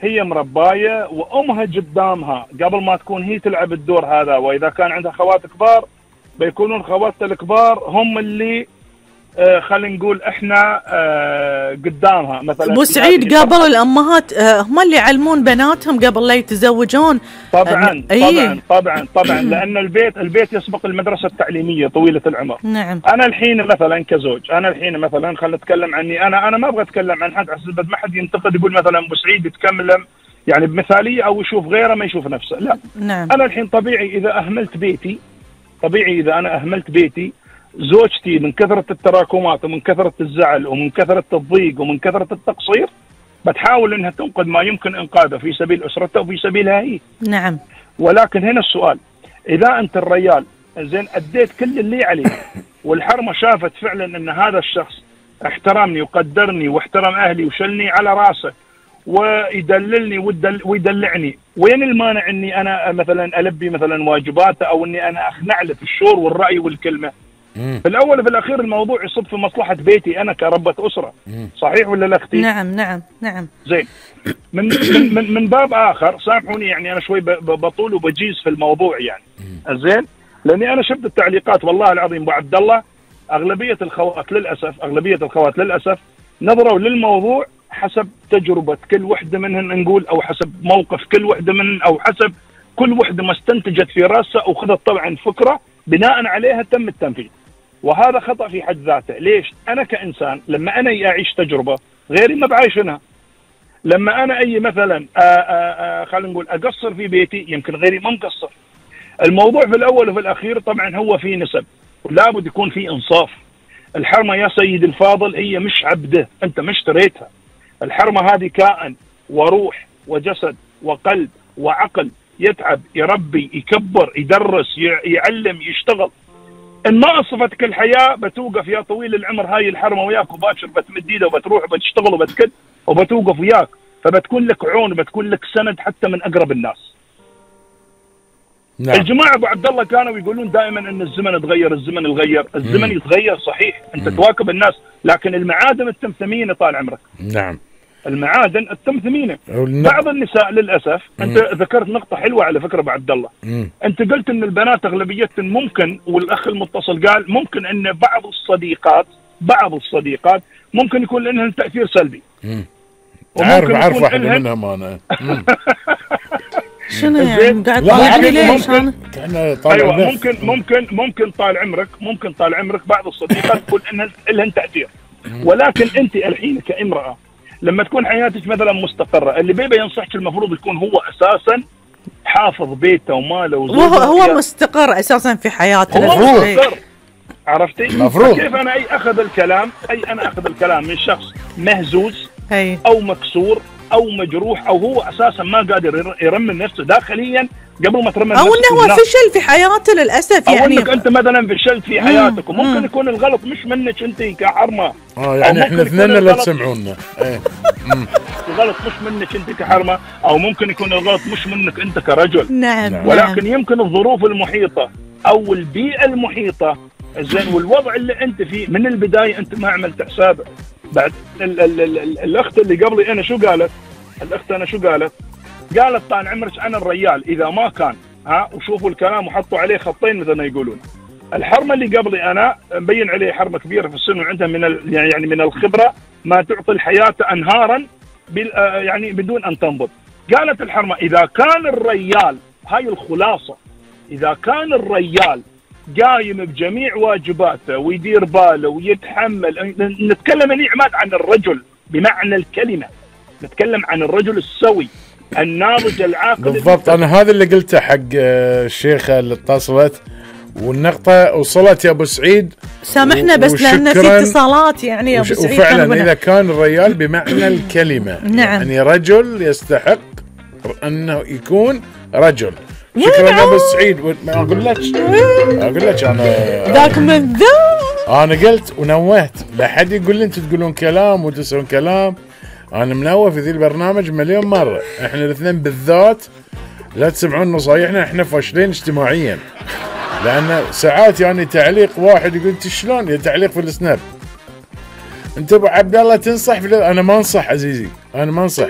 هي مربايه وامها قدامها قبل ما تكون هي تلعب الدور هذا، واذا كان عندها خوات كبار بيكونون خواتها الكبار هم اللي خلينا نقول احنا قدامها. مثلا ابو سعيد قبل الامهات هم اللي يعلمون بناتهم قبل لا يتزوجون. طبعا طبعا لان البيت يسبق المدرسه التعليميه طويله العمر. نعم. انا الحين مثلا كزوج، انا الحين مثلا خلينا نتكلم عني، انا ما ابغى اتكلم عن حد عشان ما حد ينتقد يقول مثلا ابو سعيد يتكلم يعني بمثاليه او يشوف غيره ما يشوف نفسه، لا. نعم. انا الحين طبيعي اذا انا اهملت بيتي، زوجتي من كثرة التراكمات ومن كثرة الزعل ومن كثرة الضيق ومن كثرة التقصير بتحاول انها تنقذ ما يمكن انقاذه في سبيل اسرتها وفي سبيلها هي. نعم. ولكن هنا السؤال، اذا انت الرجال زين اديت كل اللي عليك والحرمة شافت فعلا ان هذا الشخص احترمني وقدرني واحترم اهلي وشلني على راسه ويدللني ويدلعني، وين المانع اني انا مثلا البي مثلا واجباته او اني انا اخنع له في الشور والراي والكلمه؟ في الاول وفي الاخير الموضوع يصب في مصلحه بيتي انا كربة اسره. صحيح ولا لا اختي؟ نعم. زين. من باب اخر سامحوني يعني انا شوي بطول وبجيز في الموضوع يعني. زين؟ لاني انا شفت التعليقات والله العظيم ابو عبد الله، اغلبيه الخوات للاسف نظروا للموضوع حسب تجربه كل وحده منهن نقول، او حسب موقف كل وحده منهن، او حسب كل وحده ما استنتجت في راسها وخذت طبعا فكره بناء عليها تم التنفيذ. وهذا خطأ في حد ذاته. ليش؟ أنا كإنسان لما أنا أعيش تجربة غيري ما بعيشنها. لما أنا أي مثلا خلينا نقول أقصر في بيتي يمكن غيري ما مقصر. الموضوع في الأول وفي الأخير طبعا هو في نسب، ولا بد يكون في إنصاف. الحرمة يا سيد الفاضل هي مش عبده، أنت ما اشتريتها. الحرمة هذه كائن وروح وجسد وقلب وعقل، يتعب يربي يكبر يدرس يعلم يشتغل. ان ما اصفتك الحياه بتوقف يا طويل العمر هاي الحرمه وياك وباشر بتمد ايده وبتروح وبتشتغل وبتكد وبتوقف وياك، فبتكون لك عون وبتكون لك سند حتى من اقرب الناس. نعم. الجماعه ابو عبد الله كانوا يقولون دائما ان الزمن اتغير، الزمن يتغير صحيح، انت تواكب الناس، لكن المعادن التم ثمينه طال عمرك. نعم. المعادن التم ثمينه. بعض النساء للاسف انت ذكرت نقطه حلوه على فكره ابو عبد الله. انت قلت ان البنات اغلبيتهم ممكن، والاخ المتصل قال ممكن ان بعض الصديقات ممكن يكون لهم تاثير سلبي. عارف واحده منهم انا. شنو يعني قاعد طالعني ليش انا؟ ايوه ممكن طال عمرك بعض الصديقات تكون ان لهم تاثير، ولكن انت الحين كامراه لما تكون حياتك مثلا مستقره، اللي بيبي ينصحك المفروض يكون هو اساسا حافظ بيته وماله وزوجته. هو مستقر اساسا في حياته. هو مستقر. عرفتي؟ مفروض. كيف انا اخذ الكلام من شخص مهزوز او مكسور او مجروح او هو اساسا ما قادر يرمم نفسه داخليا قبل ما ترمم نفسه، او انه هو فشل في حياته للاسف، يعني او انك انت مثلا فشلت في حياتك. وممكن يكون الغلط مش منك انت كحرمه. يعني احنا اثنين لا تسمعونا. الغلط مش منك انت كحرمه، او ممكن يكون الغلط مش منك انت كرجل. نعم. ولكن يمكن الظروف المحيطه او البيئه المحيطه زين والوضع اللي انت فيه من البدايه انت ما عملت حسابه. بعد الاخت اللي قبلي انا شو قالت؟ قالت طال عمرك انا الرجال اذا ما كان وشوفوا الكلام وحطوا عليه خطين مثل ما يقولون. الحرمه اللي قبلي انا مبين عليه حرمه كبيره في السن وعندها من الخبره ما تعطي الحياه انهارا يعني بدون ان تنضب. قالت الحرمه اذا كان الرجال، هاي الخلاصه، اذا كان الرجال قايم بجميع واجباته ويدير باله ويتحمل، نتكلم يا عماد عن الرجل بمعنى الكلمه، نتكلم عن الرجل السوي الناضج العاقل بالضبط. انا هذا اللي قلته حق الشيخه اللي اتصلت، والنقطه وصلت يا ابو سعيد. سامحنا بس لان في اتصالات يعني يا ابو سعيد. وفعلا اذا كان الرجال بمعنى الكلمه نعم. يعني رجل يستحق انه يكون رجل. شكرا يا ابو سعيد. اقول لك انا ذاك من ذا انا قلت ونوهت، لا حد يقول لي انتم تقولون كلام وتسرون كلام. انا منوه في ذي البرنامج مليون مره، احنا الاثنين بالذات لا تسمعون نصايحنا، احنا فاشلين اجتماعيا. لان ساعات يعني تعليق واحد يقول انت شلون تعليق في السناب، انت ابو عبد الله تنصح في انا ما انصح عزيزي، انا ما انصح.